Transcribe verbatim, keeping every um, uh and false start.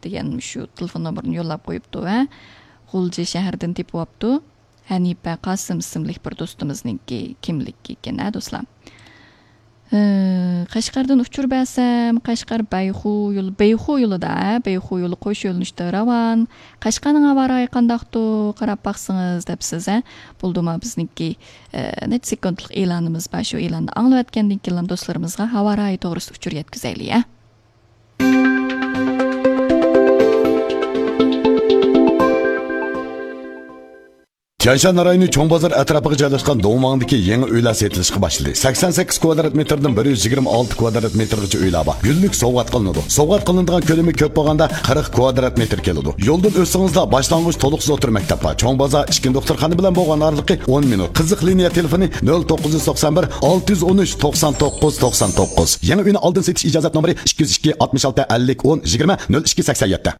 دېگەن شۇ تېلېفون نومۇرىنى يوللاپ قويۇپتۇ ۋە غۇلجا شەھىرىدىن تېپىۋاپتۇ. ھەنىپە قاسىم ئىسىملىك بىر دوستىمىزنىڭكى كىملىكى ئىكەن، ھە، دوستلار. ھە، قەشقەردىن ئۇچۇر بەرسەم، قەشقەر بەيخۇ يولى، بەيخۇ يولىدا، ھە، بەيخۇ يولى قوش يۆنىلىشتە راۋان. قەشقەرنىڭ ھاۋا رايى قانداقتۇ؟ قاراپ باقسىڭىز دەپسىز، ھە. بولدىما بىزنىڭكى، ئە، نەچچە سېكۇنتلۇق ئېلانىمىز بار. شۇ ئېلاننى ئاڭلىۋەتكەندىن كېيىن دوستلىرىمىزغا ھاۋا رايى توغرىسىدا ئۇچۇر يەتكۈزەيلى، ھە. تيەنشان رايونى چوڭ بازار ئەتراپىغا جايلاشقان دۇڭۋاڭدىكى يېڭى ئۆيلەر سېتىلىشقا باشلىدى. سەكسەن سەككىز كۋادرات مېتىردىن بىر يۈز يىگىرمە ئالتە كۋادرات مېتىرغىچە ئۆيلەر بار. گۈللۈك سوۋغات قىلىنىدۇ. سوۋغات قىلىنىدىغان كۆلىمى كۆپ بولغاندا قىرىق كۋادرات مېتىر كېلىدۇ. يولدىن ئۆتسىڭىزلا باشلانغۇچ تولۇقسىز ئوتتۇرا مەكتەپ بار. چوڭ بازار، ئىككىنچى دوختۇرخانا بىلەن بولغان ئارىلىقى ئون مىنۇت. قىزىق لىنىيە تېلېفونى نۆل توققۇز يۈز توقسان بىر، ئالتە يۈز ئون ئۈچ، توقسان توققۇز، توقسان توققۇز. يېڭى ئۆينى ئالدىن سېتىش ئىجازەت نومۇرى ئىككى يۈز ئىككى، ئاتمىش ئالتە، ئەللىك، ئون، يىگىرمە، نۆل ئىككى، سەكسەن يەتتە.